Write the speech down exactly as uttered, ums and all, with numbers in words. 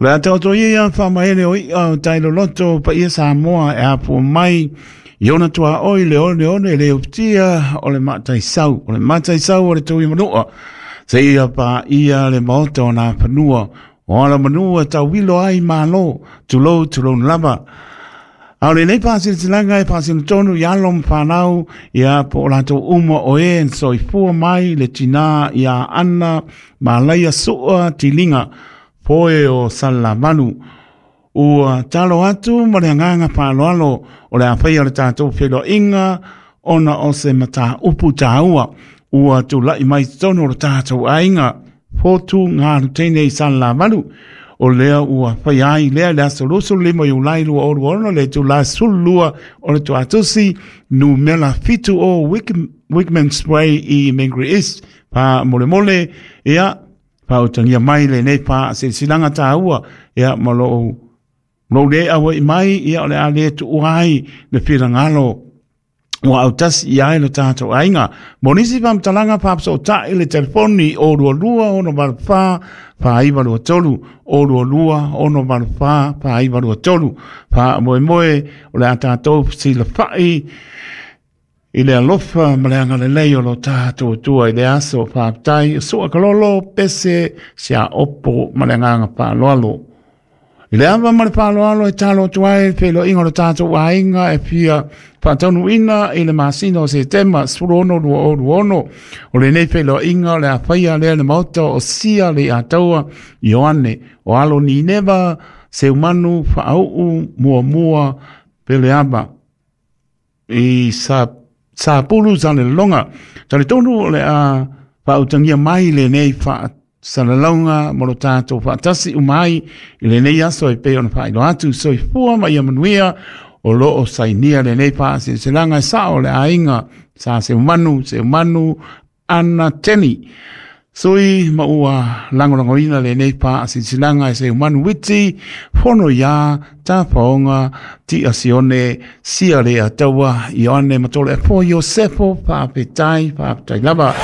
Le a taoto ia whamaele o ia o tailoloto pa ia Samoa e apo mai i ona tua oi le one one le upitia o le mataisau. O le mataisau o le tui manua. Se ia pa ia le maota o nā panua. O ala manua tauwilo ai malo. Tulou tulou lava. A o lenei faasilasilaga e faasino tonu i alo ma fanau ia po o latou uma o e na soifua mai le tinā iā Ana Malaia Sua Tiliga Poe o Salelavalu. Ua talo atu ma le agaga faaaloalo o le a faia o le tatou feiloaiga ona o se mataupu taua ua tula'i mai totonu o le tatou aiga Fotu Galuteine i Salelavalu. O lea ua faia ai lea le aso luasefulu lima Iulai lua o lua ono le itulā sefululua o le tuatusi numera fitu o Wickman's Way i Mangere East. Faamolemole ia faautagia mai lenei faasilasilaga taua ia ma lou lou le auai mai ia o le a le tuua ai le finagalo ua autasi i ai lo tatou aiga. Mo nisi faamatalaga faapasootai le telefoni o lua lua ono valu fa faaiva lua tolu o lua lua ono valu fa faaiva lua tolu. Faamoemoe o le a tatou fesilafai i le alofa ma le agalelei o lo tatou Atua i le aso. Faafetai sua kalolo pese siaopo ma le agaga faaaloalo. I le ava ma le faaaloalo e talo atu ai le feiloaiga o le tatou aiga e fia faataunuuina i le masina o Setema sefulu ono lua o lua ono. O lenei feiloaiga o le a faia lea le maota o Sia le Ataua Ioane o alo Nineva Seumanu Faauu Muamua Peleava i sa Sapulu Salelologa. Talitonu o le a faautagia mai lenei faasalalauga mo lo tatou faatasi uma ai i lenei aso e pei ona faailoa atu. Soifua ma ia manuia. O loo sainia lenei faasilasilaga e sao o le aiga sa Seumanu Seumanu Ana Teni. Sui ma ua lagolagoina lenei faasilasilaga e Seumanu Witi Fono iā Tafaoga Tia Sione Sia le Ataua Ioane Matole Apo Iosefo. Faafetai, faafetai lava.